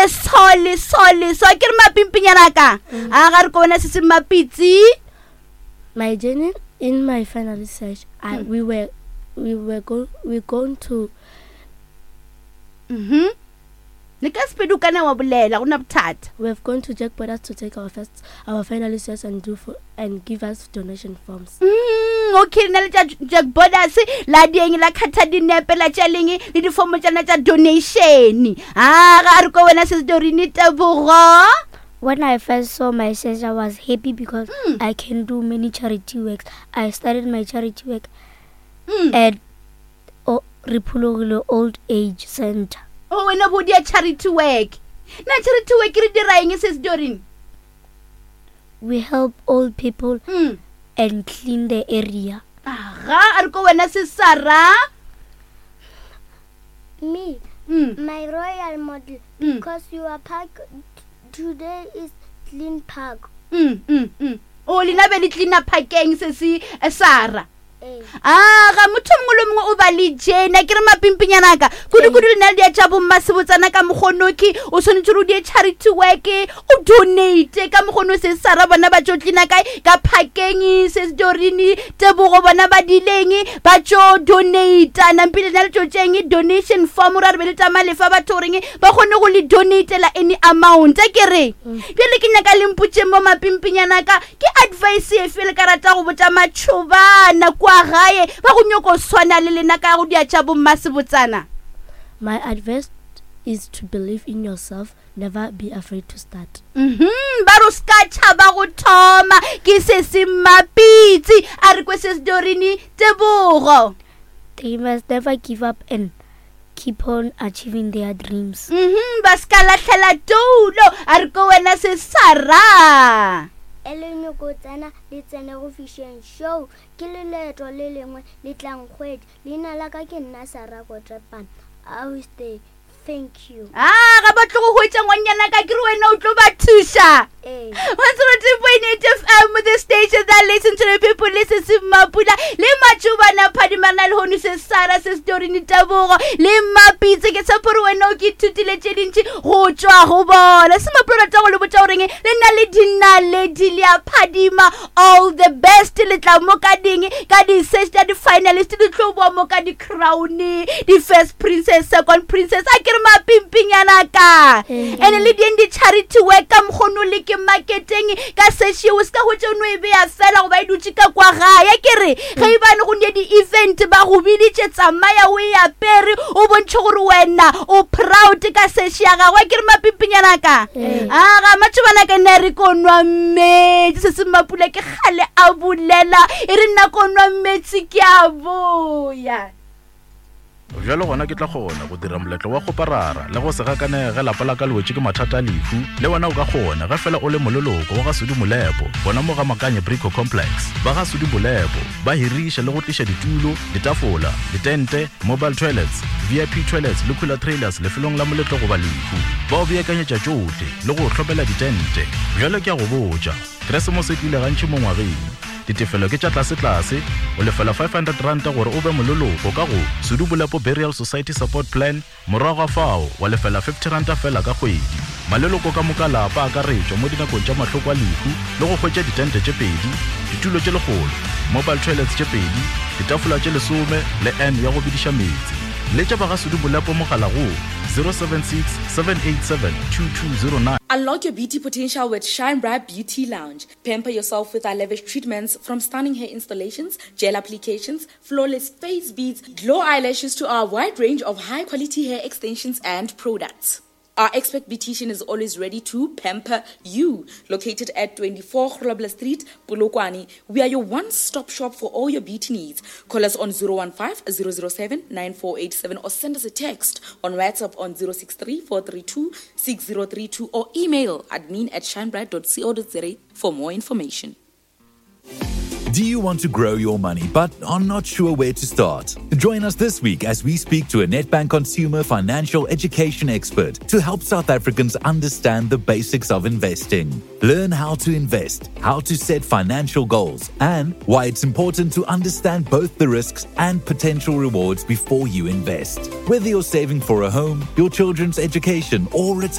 tše so le so le so. Ke re mapimpinyana ka. A ga re ko bona se se mapitsi. My journey in my final research, I, we were we were go, we going to Mhm. Le ka sepedi o kana wa bolela go na bothata. We have gone to Jack Borders to take our first our final research and do for and give us donation forms. Mm, okay na le tša Jack Borders la dieng la khatha dinepe la tša leng le difomo tšana tša donation. Ah ga re ko wena se Dorini Tebogo. When I first saw my sister, I was happy because mm. I can do many charity works. I started my charity work mm. at o, Rephologile Old Age Center. O wena bo dia charity work. Na charity work re dira eng sis Doreen? We help old people mm. and clean the area. Aga, a re ko wena sis Sarah. Me, mm. my royal model, mm. because your park today is clean park. Mm, mm, mm. O lena be le cleaner parkeng se se eh, Sarah. A ga motho mongwe le mongwe o ba le jena ke re mapimpinyana ka kudu-kudu le na le dia tša bommasebotsana ka mokgonoki o tshwanetse gore o die charity work o donate ka mokgono se sara bona ba tšo tlina kae ka phakeng se se tebogo bona ba dileng ba tšo donata nampile na le tšo tšeng donation form ra re be le tama lefa batho goreng ba kgone go le donatela any amount a ke re bjale ke nyaka le mpotšeng mo mapimpinyana ka Ke advice efe le ka rata go botša matšhobana kua gae ba go nyoko swana le lena ka go dia tša bommasebotsana? My advice is to believe in yourself, never be afraid to start. Mhm, ba re o se ka tšhaba go thoma. Ke sesi Mmapitsi a re kwe Sis Doreen Tebogo. They must never give up and keep on achieving their dreams. Mhm, ba se ka lahlela toulo a re ko wena se Sarah. E le nyoko tsena le tsene go fišeng show ke le leeto le lengwe le tlang kgwedi leina la ka ke nna Sarah Kotrepane I will stay Thank you. Ah, ga ba tlo go hwetša ngwannyana ka ke re wena o tlo ba thuša. Ee. 102.8 FM the station that listen to the people le se se Mapula le Matšobana Phadimana le hono se Sara se Storini Tebogo le Mapitse ke tshepo gore wena o ke ithutile tše dintši go tšwa go bona se Mapula rata go le botša goreng le na le dinaledi le a phadima all the best le tla mo ka ding ka di-search tša di-finalist di tlo boa mo ka di-crown di-first princess second princess a ke re mapimpinyana ka ene le dieng di-charity work ka mokgono le ke marketeng ka sešeo se ka hwetša o no e beya fela goba e dutše ka kwa gae ke re ge e bane go ne di-event ba go biditše tsamaya o e apere o bontšhe gore wena o proud ka seši ya gagwe ke re mapimpinyana ka aga matšobana ka nna re ko nwa metsi se se mapula ke kgale a bolela e re nna ko nwa metsi ke a boya Bjalo gona ke tla kgona go dira moletlo wa kgoparara le go se gakanege ge lapa la ka le wetše ke mathata a lehu. Le wena o ka kgona ge fela o le moleloko wa ga Sudi Molepo gona mo ga Makanye Brico Complex. Ba ga Sudi Molepo ba hiriša le go tliša ditulo, ditafola, ditente, mobile toilets, VIP toilets le cooler trailers lefelong la moletlo goba lehu. Ba o beakanyetša tšohle le go o hlomela ditente. Bjalo ke a go botša, Keresemose e tlile gantši mo ngwageng. Ditefelo ke tša tlasetlase, o lefela R500 gore o be moleloko ka go Sudu Bolepo Burial Society Support Plan, morago ga fao wa lefela R50 feela ka kgwedi. Maleloko ka moka lapa a akaretšwa mo dinakong tša mahloko a lehu le go hwetša ditente tše pedi, ditulo tše lekgolo, mobile toilets tše pedi, ditafola tše lesome le urn ya go bediša meetse. Letša ba ga Sudu Bolepo mogala go 076 787 2209. Unlock your beauty potential with Shine Bright Beauty Lounge. Pamper yourself with our lavish treatments from stunning hair installations, gel applications, flawless face beads, glow eyelashes to our wide range of high quality hair extensions and products. Our expert beautician is always ready to pamper you. Located at 24 Grobler Street, Polokwane, we are your one-stop shop for all your beauty needs. Call us on 015 007 9487 or send us a text on WhatsApp on 063 432 6032 or email admin at shinebright.co.za for more information. Do you want to grow your money but are not sure where to start? Join us this week as we speak to a Nedbank consumer financial education expert to help South Africans understand the basics of investing. Learn how to invest, how to set financial goals, and why it's important to understand both the risks and potential rewards before you invest. Whether you're saving for a home, your children's education, or retirement,